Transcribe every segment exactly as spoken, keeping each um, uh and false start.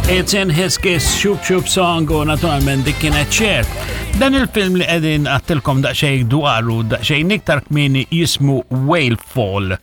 It's in His Kiss, Shoop Shoop Song u naturalment dik kienet Cher. Dan il-film li qegħdin għedtilkom daqsxejn dwaru, daqsxejn iktar kmieni, jismu Whale Fall.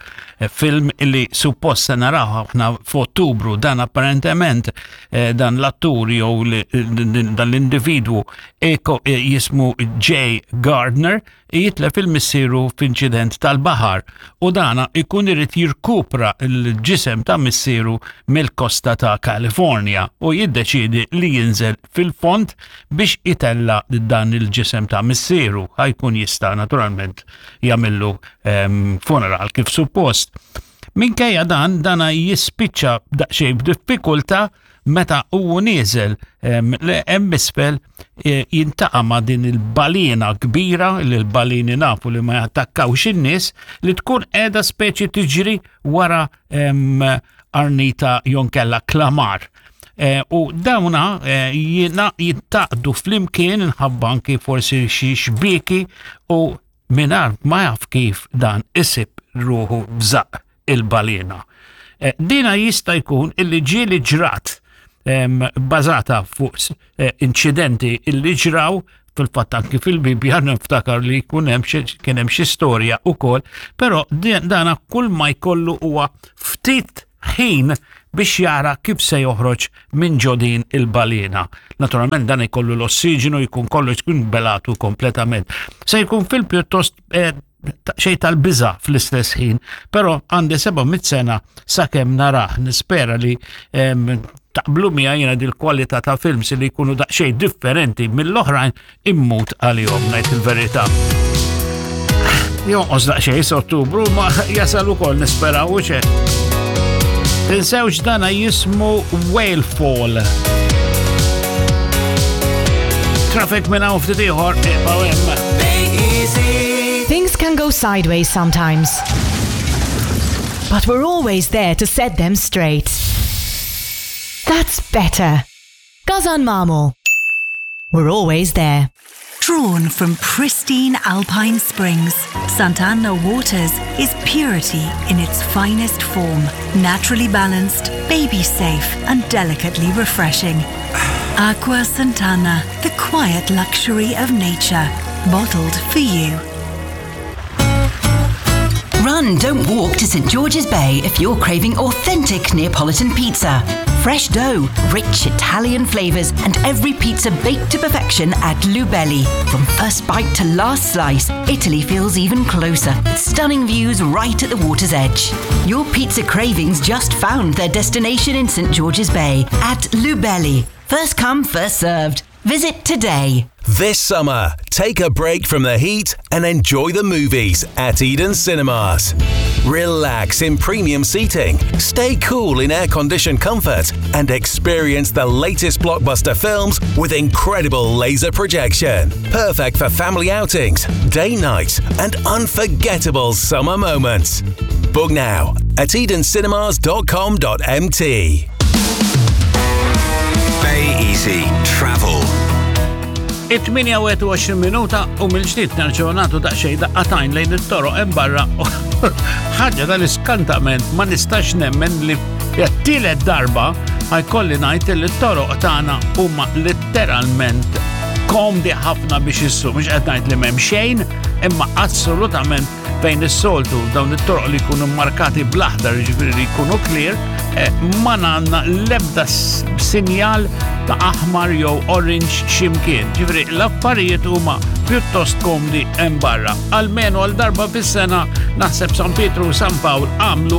Film li suppost se naraw aħna f'Ottubru. Dan apparentement eh, dan l-attur jew dan l-individwu eh, jismu Jay Gardner, jitlef il-missieru f'inċident tal-baħar u dana ikun irid jirkupra l-ġisem ta' missieru mill-kosta ta' California u jiddeċidi li jinżel fil-fond biex itella dan il-ġisem ta' missieru, ħa jkun jista' naturalment jagħmillu um, funeral kif suppost. Minkejja dan, dana jispiċċa daqsxejn b'diffikultà meta huwa nieżel hemm isfel e, jiltaqa' ma' din il-balina kbira, li l-balini nafu li ma jattakkawx in-nies, li tkun qiegħda speċi tiġri wara arnita jew inkella klamar. E, u dawna e, jingħaqdu flimkien minħabba anki forsi xi xbieki u mingħajr ma jaf kif dan isib ruħu f'żaqq il-balina. Dina jista' jkun illi ġieli ġrat, bażata fuq eh, inċidenti illi ġraw fil-fatt anki fil-Bibja, niftakar li jkun hemm kien hemm xi storja ukoll, però dana kull ma jkollu huwa ftit ħin biex jara kif se joħroġ minn ġo din il-balena. Naturalment dan jkollu l-ossiġenu, jkun kollu jkun belatu kompletament. Se jkun fil pjuttost eh, xej tal-biża fl-istess ħin, però għandi seba' mitt sena sakemm narah, nispera li taqblu miegħi. Jiena dil-kwalità ta' films li jkunu daqsxejn differenti mill-oħrajn immut għalihom, ngħid il-verità. Jonqos daqsxejn Ottubru, ma jasal ukoll, nisperaw u ċe. Tinsewx, dana jismu Whale Fall. Traffic minn hawn ftit ieħor, ibqgħu hemm. Things can go sideways sometimes. But we're always there to set them straight. That's better. GasanMamo. We're always there. Drawn from pristine alpine springs, Sant'Anna Waters is purity in its finest form. Naturally balanced, baby safe, and delicately refreshing. Acqua Sant'Anna, the quiet luxury of nature. Bottled for you. Run, don't walk to Saint George's Bay if you're craving authentic Neapolitan pizza. Fresh dough, rich Italian flavours, and every pizza baked to perfection at Lubelli. From first bite to last slice, Italy feels even closer, with stunning views right at the water's edge. Your pizza cravings just found their destination in Saint George's Bay at Lubelli. First come, first served. Visit today. This summer, take a break from the heat and enjoy the movies at Eden Cinemas. Relax in premium seating, stay cool in air conditioned comfort, and experience the latest blockbuster films with incredible laser projection. Perfect for family outings, day nights, and unforgettable summer moments. Book now at edencinemas dot com dot M T. Bay Easy Travel. it-tmienja u wieħed u għoxrin minuta u mill-ġdid nerġgħu nagħtu daqsxejn daqqa t'għajn lejn it-toroq hemm barra. Ħaġa tal-iskantament, ma nistax nemmen li t-tielet darba ħa jkolli ngħid li t-toroq tagħna huma letteralment komdi ħafna biex issuq. Mhux qed ngħid li m'hemm xejn, imma assolutament fejn is-soltu dawn it-toroq li jkunu markati bl-aħdar, jiġifieri li jkunu clear, eh, ma għandna l-ebda sinjal ta' aħmar jew orange ximkien. Ġifieri l-affarijiet huma pjuttost komdi hemm barra. Almenu għal darba fis-sena naħseb San Pietru u San Pawl għamlu